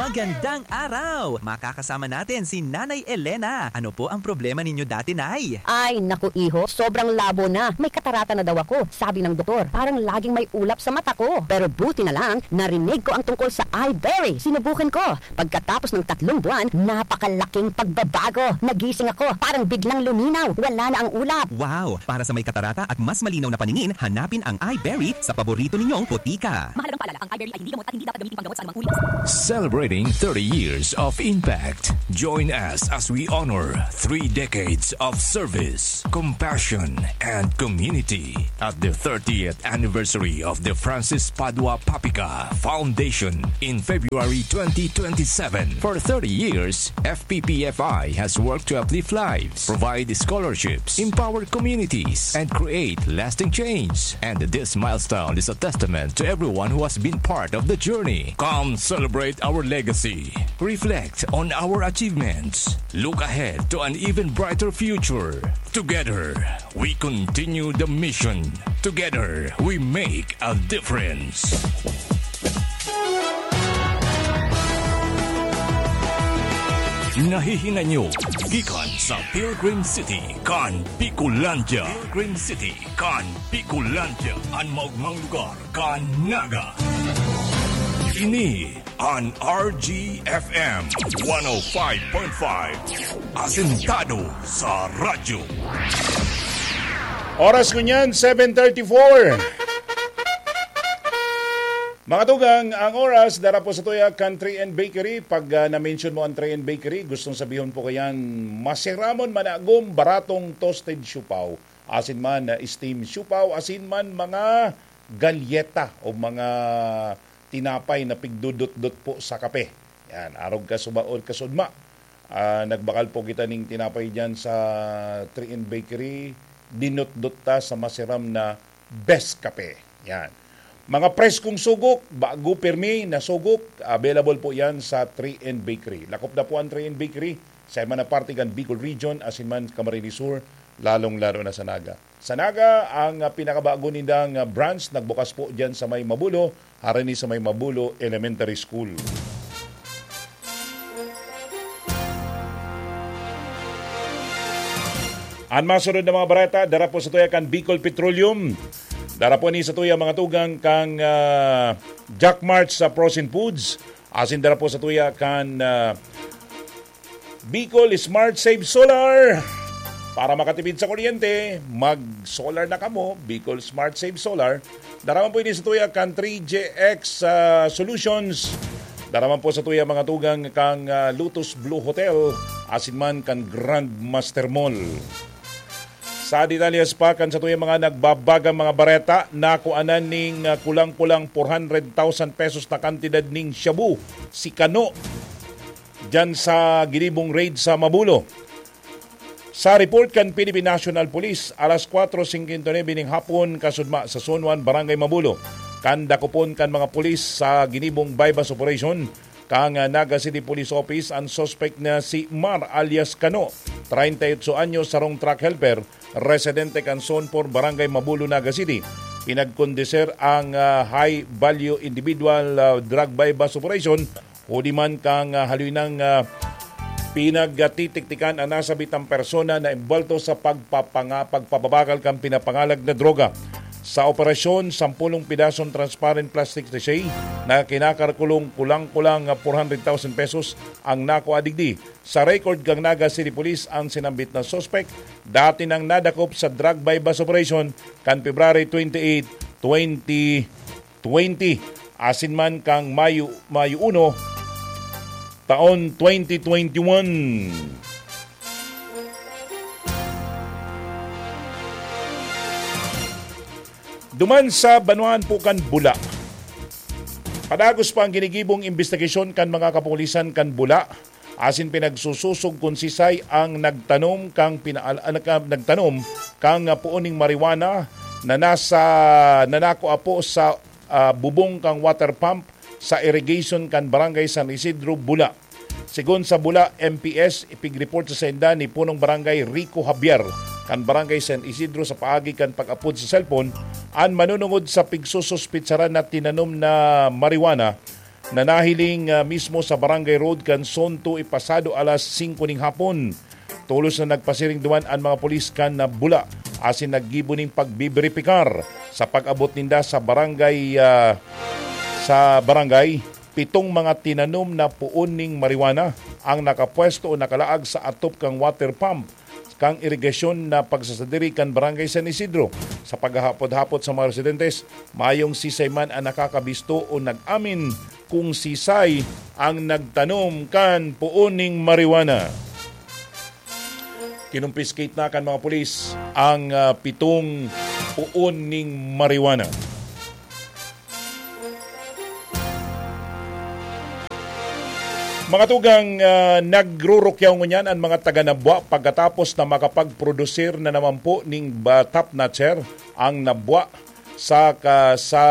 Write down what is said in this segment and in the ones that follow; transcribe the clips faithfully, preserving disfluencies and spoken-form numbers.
Magandang araw! Makakasama natin si Nanay Elena. Ano po ang problema ninyo dati, Nay? Ay, naku, iho, sobrang labo na. May katarata na daw ako, sabi ng doktor. Parang laging may ulap sa mata ko. Pero buti na lang, narinig ko ang tungkol sa Iberry. Sinubukan ko. Pagkatapos ng tatlong buwan, napakalaking pagbabago. Nagising ako, parang biglang luminaw. Wala na ang ulap. Wow! Para sa may katarata at mas malinaw na paningin, hanapin ang Iberry sa paborito ninyong botika. Mahalagang paalala, ang Iberry ay hindi gamot at hindi dapat gamitin panggamot sa anumang uri. Celebrating thirty years of impact. Join us as we honor three decades of service, compassion, and community at the thirtieth anniversary of the Francis Padua Papica Foundation in February twenty twenty-seven. For thirty years, F P P F I has worked to uplift lives, provide scholarships, empower communities, and create lasting change. And this milestone is a testament to everyone who has been part of the journey. Come celebrate our legacy. Reflect on our achievements. Look ahead to an even brighter future. Together, we continue the mission. Together, we make a difference. Nahihinay nyo gikan sa Pilgrim City kan Bicolandia. Pilgrim City kan Bicolandia, an maogmang lugar kan Naga. Ini an R G F M one oh five point five, asentado sa radyo. Oras ngunyan, seven thirty-four. Mga tugang, ang oras, dara po sa tuya kan Three N Bakery. Pag, ah, na-mention mo ang Three N Bakery, gustong sabihon po kayan, masiramon, managom, baratong toasted siopao, asin man, ah, steam siopao, asin man mga galyeta o mga tinapay na pigdudot-dot po sa kape. Yan, arog ka subaon, kasudma. Ah, nagbakal po kita ning tinapay diyan sa Three N Bakery. Dinutdot ta sa masiram na best kape. Yan. Mga preskong sugok, bago pirmi na sugok, available po yan sa Three N Bakery. Lakop na po ang Three N Bakery sa iba na parte kan Bicol Region, asin man Camarines Sur, lalong-lalo na sa Naga. Sa Naga, ang, ah, pinakabago nindang, ah, branch nagbukas po diyan sa may Mabulo, harani sa may Mabulo Elementary School. Ang masunod na mga bareta, dara po sa tuya kan Bicol Petroleum. Dara po ni sa tuya mga tugang kang, ah, Jack March sa Frozen Foods. Asin dara po sa tuya kan, ah, Bicol Smart Save Solar. Para makatipid sa kuryente, mag-solar na kamo, Bicol Smart Save Solar. Dara man po ini sa tuya kan three J X, ah, Solutions. Dara man po sa tuya mga tugang kang, ah, Lotus Blue Hotel, asin man kan Grandmaster Mall. Sa detalyes pa kan sa tuya mga nagbabagang mga bareta, nakuanan ning, ah, kulang-kulang four hundred thousand pesos na kantidad ning shabu si Kano diyan sa ginibong raid sa Mabulo. Sa report kan Philippine National Police, alas kwatro singkwenta y nuebe ning hapon, kasudma sa Zone one, Barangay Mabulo, kan dakopon kan mga pulis sa ginibong buy-bust operation, kan, ah, Naga City Police Office, ang suspect na si Mar alias Kano, treinta y ocho anyos, sarong truck helper, residente kan Zone four, Barangay Mabulo, Naga City. Pinagkondeser ang, ah, high value individual, ah, drug buy-bust operation, huli man kan, ah, haloy nang, ah, pinagtitiktikan ang nasabitang persona na imbwelto sa pagpapanga-, pagpapabagal kan pinapangalag na droga. Sa operasyon, sampulong pidasong transparent plastic sachet na kinakalkulong kulang-kulang, ah, four hundred thousand pesos ang nakua digdi. Sa record kan Naga City Police, ang sinambit na suspek dati nang nadakop sa drug buy-bust operation kan February twenty-eight, twenty twenty, asin man kan Mayo, Mayo uno, taon twenty twenty-one. Duman sa banwaan po kan Bula, padagos pa ang ginigibong imbestigasyon kan mga kapulisan kan Bula, asin pinagsususog kun sisay ang nagtanom kang pinaal-, ah, nagka-, nagtanom kang, ah, puon ning marijuana na nasa, na nakua po sa, ah, bubong kang water pump sa irrigation kan Barangay San Isidro, Bula. Sigon sa Bula M P S, ipig-report sa sainda ni Punong Barangay Rico Javier kan Barangay San Isidro sa paagi kan pag-apod sa cellphone, an manunungod sa pigsususpitsaran na tinanom na marijuana na nahiling, ah, mismo sa Barangay Road kan Zone two ipasado alas singko ning hapon. Tolos na nagpasiring duman an mga pulis kan, ah, bula asin naggibo ning pagbiberipikar. Sa pag-abot ninda sa barangay, ah, sa barangay, pitong mga tinanom na puon ning marijuana ang nakapwesto o nakalaag sa atop kan water pump kan irigasyon na pagsasadiri kan Barangay San Isidro. Sa paghahapot-hapot sa mga residentes, mayong sisay man ang nakakabisto o nag-amin kung sisay ang nagtanom kan puon ning marijuana. Kinumpiskate na kan mga pulis ang, ah, pitong puon ning marijuana. Mga tugang, ah, nagrurukyaw ngunyan ang mga taga Nabua pagkatapos na makapagprodusir na naman po ning ba-, top notcher ang Nabua sa ka-, sa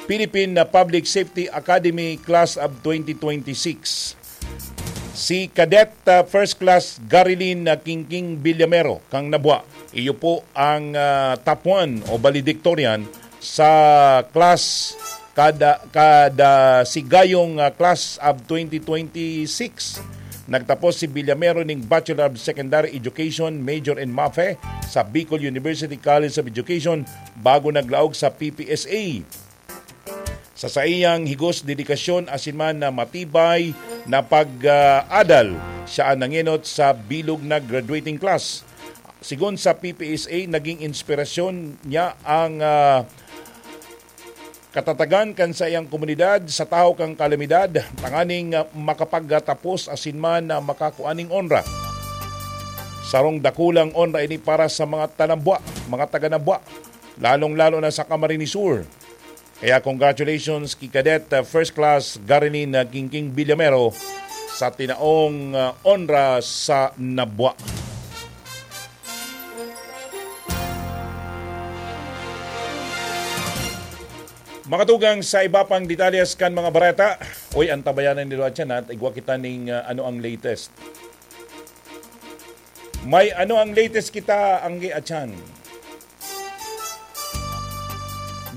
Philippine Public Safety Academy Class of twenty twenty-six. Si Cadet, ah, First Class Garilin, ah, Kingking Villamero, kang Nabua. Iyo po ang, ah, top one o valedictorian sa class kada, kada sigayong, ah, class of twenty twenty-six. Nagtapos si Villamero ning Bachelor of Secondary Education, major in MAFE, sa Bicol University College of Education, bago naglaog sa P P S A. Sa saiyang higos, dedikasyon asin man na matibay na pag-adal, siya an nangenot sa bilog na graduating class. Sigon sa P P S A, naging inspirasyon niya ang, ah, katatagan kan saiyang komunidad sa tahaw kan kalamidad, tanganing, ah, makapagtapos asin man na makakua ning onra. Sarong dakulang onra ini para sa mga taga-Nabua, mga taga-Nabua, lalong-lalo na sa Camarines Sur. Kaya congratulations ki Cadet, uh, First Class Garilin, uh, Kingking Villamero sa tinaong, uh, onra sa Nabua. Mga tugang, sa iba pang detalyes kan mga bareta, uy, antabayanan nindo atyan, ha? Igwa kita ning, uh, ano ang latest. May ano ang latest kita, Angge Achan?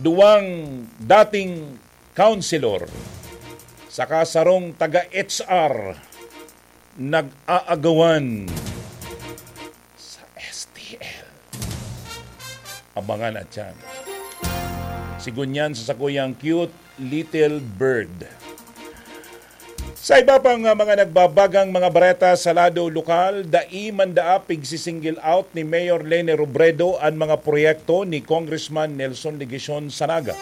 Duwang dating councilor saka sarong taga-H R nag-aagawan sa S T L. Abangan atyan. Sigon yan sa sakuyang cute little bird. Sa iba pang, ah, mga nagbabagang mga bareta sa lado lokal, dai man daa pigsi-single out ni Mayor Leni Robredo an mga proyekto ni Congressman Nelson Legacion sa Naga.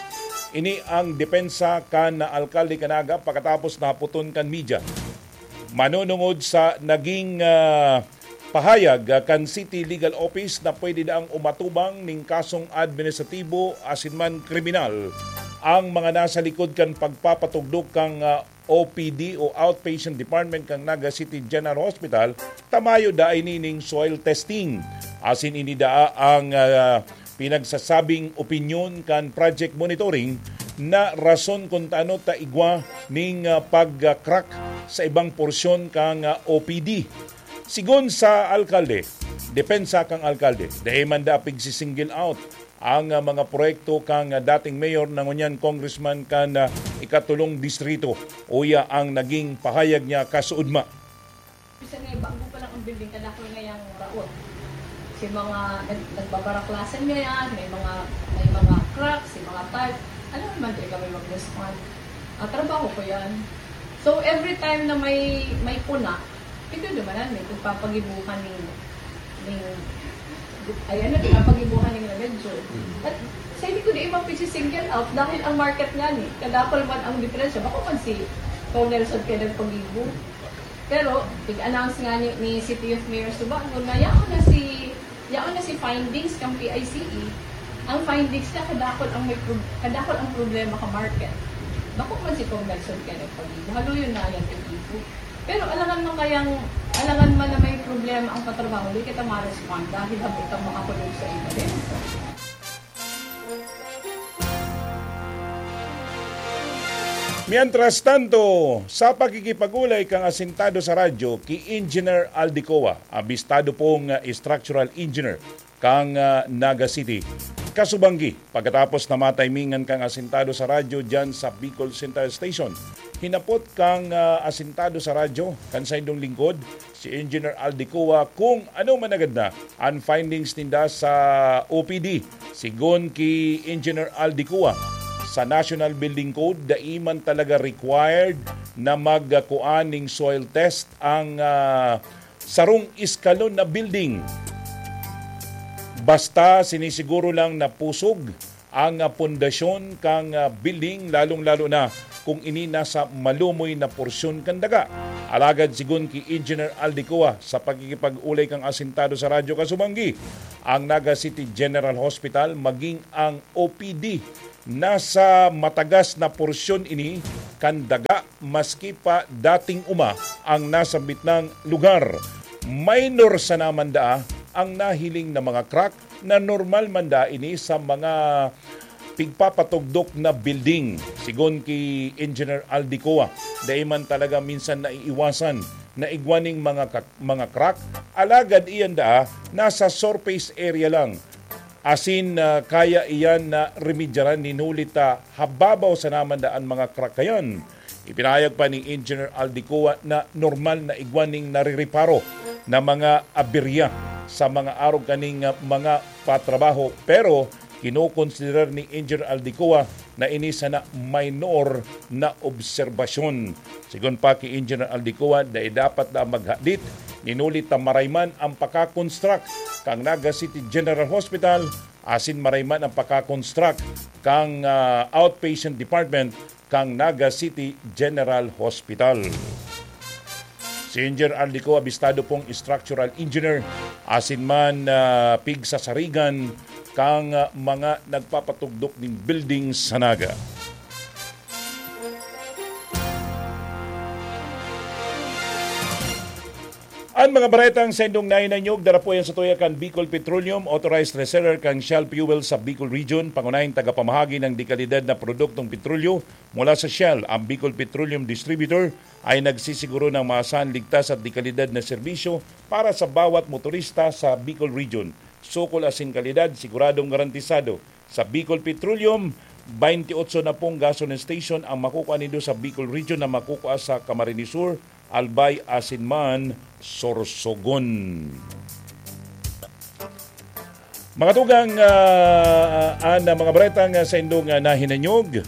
Ini ang depensa kan alkalde kan Naga pakatapos na hapoton kan media. Manunungod sa naging, ah, pahayag, ah, kan City Legal Office na pwede daang umatubang ning kasong administratibo asin man kriminal ang mga nasa likod kan pagpapatugdok kan, ah, O P D o Outpatient Department kan Naga City General Hospital, ta mayo daa ini ning soil testing. Asin ini daa ang, ah, pinagsasabing opinyon kan project monitoring na rason kun ta ano ta igwa ning, ah, pag-crack sa ibang porsyon kan, ah, O P D. Sigon sa alkalde, depensa kan alkalde, dai man daa pigsi-single out ang, ah, mga proyekto kan, ah, dating mayor na ngunyan congressman kan, ah, ikatulong distrito. Uya ang naging pahayag niya kasuodma. Bisan nga bago pa lang ang building, kadakol na yang raot. Si mga nag-, nagbabaraklasan niya yan, may mga, may mga cracks, si mga tile. Ano naman talaga may mag-respond? Ah, trabaho ko yan. So, every time na may, may puna, ito naman, may pagpapagibuhan ni, ni, ay ano, pagpapagibuhan ni Rebeljo. At sa hindi ko di ibang pisi-single out dahil ang market nga ni, kadakol man ang diferensya. Bako man si Col Nelson kaya nagpagibo. Pero, ig-announce nga ni, ni City of Mayor Subago na yaon na si, yaon na si findings kang P I C E. Ang findings niya, kadakol ang may prob-, kadakol ang problema ka market. Bako man si Col Nelson kaya nagpagibo. Haluyon na yan, igibo. Pero alangan man kayang, alangan man na may problema ang patrabaho, di kita ma-respond dahil habot kang makakulog sa iba din. Mientras tanto, sa pakikipag-olay kan asintado sa radyo ki Engineer Aldicoa, abistado pong, ah, structural engineer kan, ah, Naga City. Kasubanggi, pagkatapos na matimingan kang asintado sa radyo dyan sa Bicol Central Station, hinapot kang ah, asintado sa radyo, kan saindong lingkod, si Engineer Aldi Cua, kung ano man agad na ang findings ninda sa O P D. Sigon ki Engineer Aldi Cua, sa National Building Code, dai man talaga required na magkuan ning soil test ang ah, sarong eskalon na building. Basta sinisiguro lang na pusog ang ah, pundasyon kan ah, building, lalong-lalo na kung ini nasa malumoy na porsyon kan daga. Alagad sigon ki Engineer Aldi Cua, sa pakikipag-olay kan asintado sa Radyo Kasubanggi, ang Naga City General Hospital maging ang O P D nasa matagas na porsyon ini kan daga, maski pa dating uma ang nasambit nang lugar. Minor sana man daa ang nahiling na mga crack na normal man daa ini sa mga pigpapatugdok na building. Sigon ki Engineer Aldi Cua, dai man talaga minsan naiiwasan na igwa ning mga ka-, mga crack, alagad iyan daa nasa surface area lang. Asin ah, kaya iyan na remedyaran, hinuli ta hababaw sana man daa an mga crack kayan. Ipinahayag pa ni Engineer Aldi Cua na normal na igwa ning narireparo na mga aberya sa mga arog kaning ah, mga patrabaho, pero kinokonsiderar ni Engineer Aldi Cua na ini sana minor na obserbasyon. Sigon pa ki Engineer Aldi Cua, dai dapat na maghadit nin huli ta maray man ang paka-construct kan Naga City General Hospital asin maray man ang paka-construct kan ah, outpatient department kan Naga City General Hospital. Si Engineer Aldi Cua, abistado pong structural engineer, asin man ah, pigsasarigan kan ah, mga nagpapatugdok nin building sa Naga. An mga baretang saindong nahinanyog, dara po yan sa tuya kan Bicol Petroleum, authorized reseller kan Shell Fuel sa Bicol Region, pangunahing tagapamahagi ng dekalidad na produktong petrolyo mula sa Shell. Ang Bicol Petroleum Distributor ay nagsisiguro ng maasahan, ligtas at dekalidad na serbisyo para sa bawat motorista sa Bicol Region. Sukol asin kalidad, siguradong garantisado. Sa Bicol Petroleum, twenty-eight na pong gasoline station ang makukua nindo sa Bicol Region na makukua sa Camarines Sur, Albay asin man Sorsogon. Mga tugang, ah, an mga baretang ah, saindong ah, nahinanyog.